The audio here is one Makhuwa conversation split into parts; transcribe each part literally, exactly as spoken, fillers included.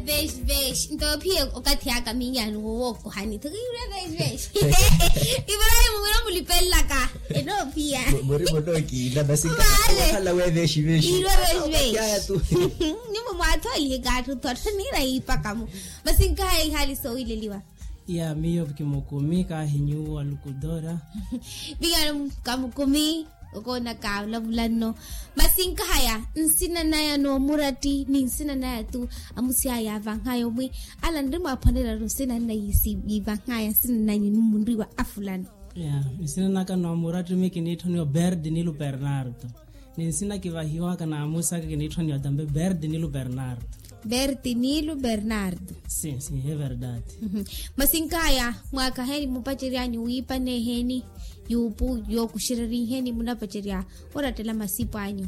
Veshi veshi nto ophiya okathi aka minyani wowookohani tho kiirwe veshi veshi. Ibrahim wira mulipelelaka enoophiya. Muri munookiina masi nkhala we veshi veshi. Irwe veshi veshi. Nyumu mwathoolihika atthu tho atthu niira yiipaka-mo. Masi nkahaya ihaali soowileliwa. Ya miyo kimukumi kaahi nyuwo alukudora. Viyano kamukumi. Okoonaka olavula nno. Masi nkahaya nsina naya noomuratti ni nsina naya-tu amusi aya yaavanhaya omwi ala nri mwaaphwanelaru nsina nna yiivanhaya nsina nanyu ni munriwa afulano. Ya nsina naka noomuratti mi kiniitthoniwa berdi nilu bernardo. Ni nsina kivahiwaka naamusi aka kiniitthoniwa tambe berdi nilu bernardo. Berti nilu bernardo. Sim sim he verdade. Masi nkaya mwaakaheni mupaceryanyu wiipa neeheni yuupu yookuxereriheni munapacerya orattela masipo anyu.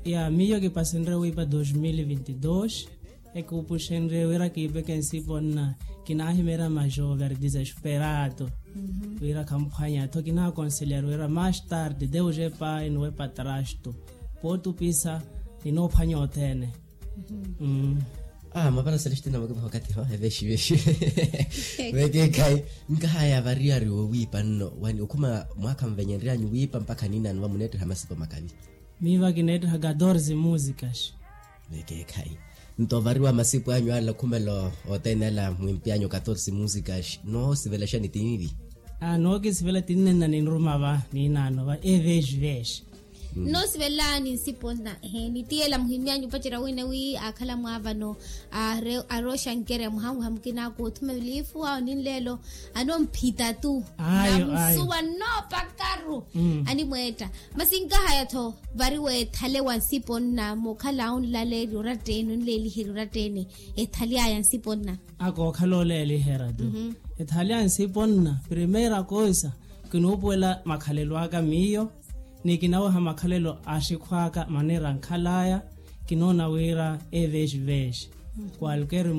Ya miyo kipasenrye wiipa dos mil vinti dos. Ekupuxenrye wira kiipeke nsipo nna kinaahimeerya majover desesperado wira khamphwanya tho kinaakonseliyari wira mas tarde deus e pai no e patrasto pootupisa. Ninoophwanya othene. Mapara celestina mwakivaha okathi ho evexivexive. Vekeekhayi nkahaya variyari wowiipa nno wani okhuma mwaakha mvenyenryanyu wiipa mpakha niinaano vamuneetteha masipo makavi. Miiva kineetteha katorse musicas. Vekeekhayi nto ovariwa masipo anyu ala khumela othene ala mwimpyanyu katorse musicas noosivelaxani tinivi? Nookisivela tinnenna ninruma va niinaano va evexivex. Nnoosivela ni nsipo nna eheeni ti ela muhimyanyu opacerya wina wi aakhala mwaavano. Arooxankereya muhanweha mukina aku othuma elifu awo ni nleelo anoomphita-tu. Namusuwa nnoopakaru animweetta. Masi nkahaya-tho vari weethale wa nsipo nna mookhala onlaleerya oratta-ene onleeliherya oratta-ene. Ethaly'aya nsipo nna akookhala oleeliherya-tu. Ethaly'aya nsipo nna primeira koisa kinuupuwela makhalelo aka miyo ni kinaweha makhalelo a axikhu aka maneira ankhal'aya. Kinoona wira evexivex kwalker